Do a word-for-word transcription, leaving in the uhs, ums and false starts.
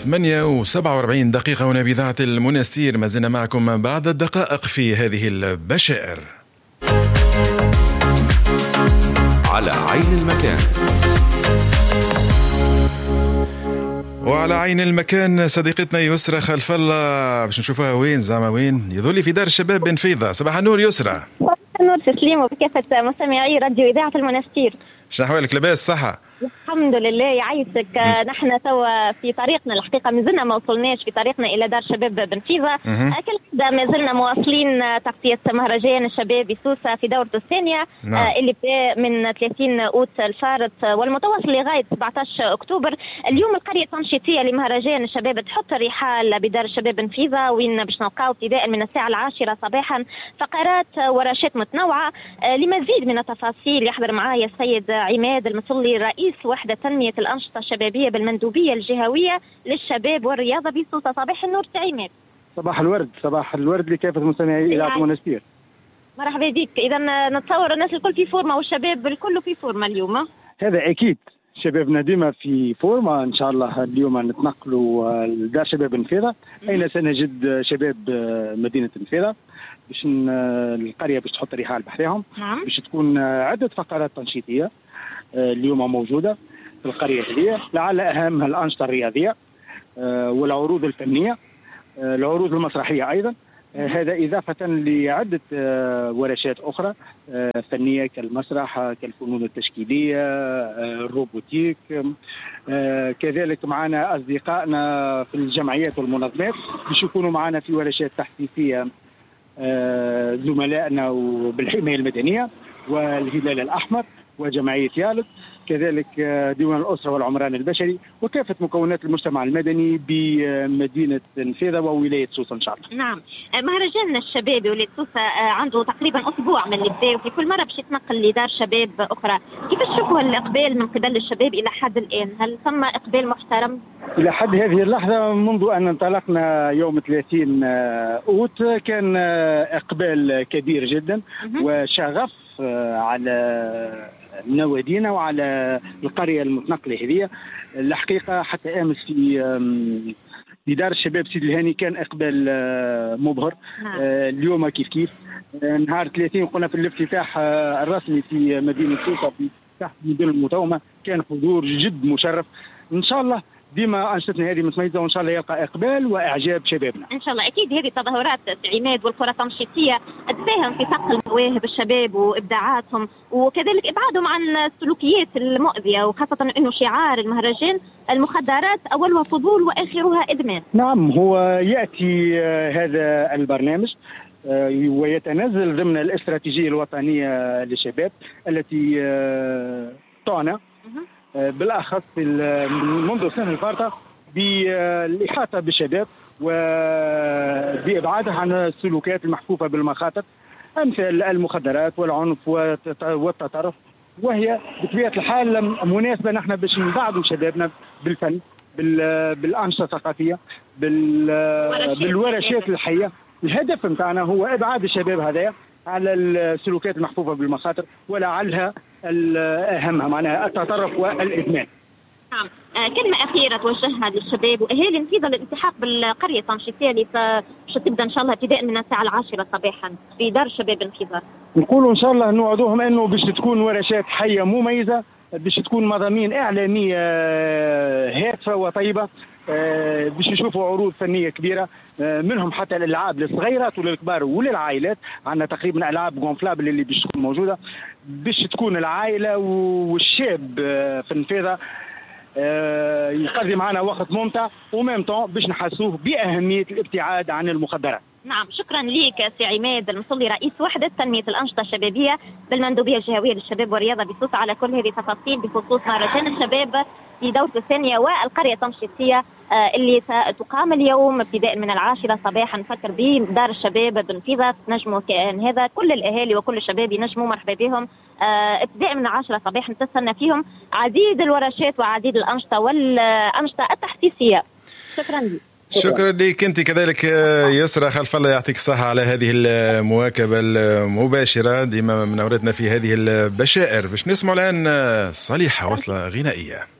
ثمانية وسبعة وأربعين دقيقة هنا بإذاعة المنستير، ما زلنا معكم بعد الدقائق في هذه البشائر. على عين المكان. وعلى عين المكان صديقتنا يسرى خلف الله، باش نشوفها وين زعما وين يظل في دار الشباب بنفيضة. صباح النور يسرى. صباح النور تسليم وبكافة مستمعي راديو إذاعة المنستير. شنو أحوالك، لاباس صحة؟ الحمد لله يعيشك. نحن توا في طريقنا، الحقيقة مازلنا ما وصلناش، في طريقنا إلى دار شباب بنفيضة. كالعادة مازلنا مواصلين تغطية مهرجان الشباب بسوسة في دورته الثانية. نعم. اللي بدأ من ثلاثين أوت الفارط والمتواصل لغاية سبعة عشر أكتوبر. اليوم القرية التنشيطية لمهرجان الشباب تحط الرحال بدار الشباب بنفيضة، وين باش نلقاو ابتداء من الساعة العاشرة صباحا فقرات ورشات متنوعة. لمزيد من التفاصيل يحضر معايا السيد عماد المصلي، رئيس وحدة تنمية الأنشطة الشبابية بالمندوبية الجهوية للشباب والرياضة بسوسة. صباح النور عماد. صباح الورد، صباح الورد لكافة مستمعي إذاعة المنستير. مرحبا بك. إذا نتصور الناس الكل في forme والشباب الكل في forme اليوم. هذا أكيد، شبابنا ديما في forme. إن شاء الله اليوم نتنقلوا لدار شباب نفيضة، أين سنجد شباب مدينة نفيضة باش القرية باش تحط رحال بحرهم. نعم. باش تكون عدة فقرات تنشيطية اليوم موجودة في القرية هذه، لعل أهمها الأنشطة الرياضية والعروض الفنية، العروض المسرحية أيضا. هذا إضافة لعدة ورشات أخرى فنية كالمسرح، كالفنون التشكيلية، الروبوتيك. كذلك معنا أصدقائنا في الجمعيات والمنظمات باش يكونوا معنا في ورشات تحسيسية، زملائنا بالحماية المدنية والهلال الأحمر وجمعية يالت، كذلك ديوان الأسرة والعمران البشري وكافة مكونات المجتمع المدني بمدينة نفيضة وولاية سوسة إن شاء الله. نعم، مهرجان الشباب ولاية سوسة عنده تقريبا أسبوع من اللي بدا، وفي كل مرة باش يتنقل لدار شباب أخرى. كيف تشوفوا الإقبال من قبل الشباب إلى حد الآن؟ هل ثم إقبال محترم؟ إلى حد هذه اللحظة منذ أن انطلقنا يوم ثلاثين أوت كان إقبال كبير جدا وشغف على نوادينا وعلى القرية المتنقلة هذه. الحقيقة حتى أمس في في دار الشباب سيد الهاني كان إقبال مبهر. نعم. اليوم كيف كيف نهار ثلاثين قلنا في الافتتاح الرسمي في مدينة سوسة في تحت مدن المتومة كان حضور جد مشرف. إن شاء الله ديما أنشطتنا هذه متميزة وإن شاء الله يلقى إقبال وإعجاب شبابنا إن شاء الله. أكيد هذه التظاهرات عماد والقرى التنشيطية تساهم في صقل مواهب الشباب وإبداعاتهم، وكذلك إبعادهم عن السلوكيات المؤذية، وخاصة أنه شعار المهرجان المخدرات أولها فضول وآخرها إدمان. نعم، هو يأتي هذا البرنامج ويتنزل ضمن الاستراتيجية الوطنية للشباب التي تعنى بالأخص منذ سنة الفارطة بالإحاطة بالشباب وبإبعادها عن السلوكات المحفوفة بالمخاطر أمثال المخدرات والعنف والتطرف، وهي بطبيعة الحال مناسبة نحن باش نبعدوا شبابنا بالفن، بالأنشطة الثقافية، بالورشات الحية. الهدف نتاعنا هو إبعاد الشباب هذايا على السلوكات المحفوفة بالمخاطر ولعلها أهمها معناها التطرف والإدمان. نعم، كلمة أخيرة توجهها للشباب وأهالي نفيضة للالتحاق بالقرية التنشيطية اللي باش تبدأ إن شاء الله ابتداء من الساعة العاشرة صباحا في دار الشباب نفيضة. نقولوا إن شاء الله نوعدوهم أنه باش تكون ورشات حية مميزة، باش تكون مضامين إعلامية هادفة وطيبة، باش نشوفوا عروض فنية كبيرة منهم حتى الالعاب للصغيرات وللكبار وللعائلات. عندنا تقريبا العاب gonflables اللي باش تكون موجودة باش تكون العائلة والشاب في النفيضه يقضي معنا وقت ممتع و même temps باش نحسوه باهمية الابتعاد عن المخدرات. نعم، شكرا لك سي عماد المصلي، رئيس وحدة تنمية الأنشطة الشبابية بالمندوبية الجهوية للشباب والرياضة بسوسة، على كل هذه التفاصيل بخصوص مهرجان الشباب في دورته الثانية والقرية التنشيطية اللي ستقام اليوم ابتداء من العاشرة صباحا. نفكر بدار الشباب بنفيضة، تنجموا كان هذا كل الأهالي وكل الشباب ينجموا، مرحبا بهم ابتداء من العاشرة صباحا. تستنى فيهم عديد الورشات وعديد الأنشطة والأنشطة التحسيسية. شكرا لك. شكرا لك انت كذلك يسرى خلف الله، يعطيك الصحة على هذه المواكبة المباشرة ديما منورتنا في هذه البشائر. باش نسمع الآن صليحة وصلة غنائية.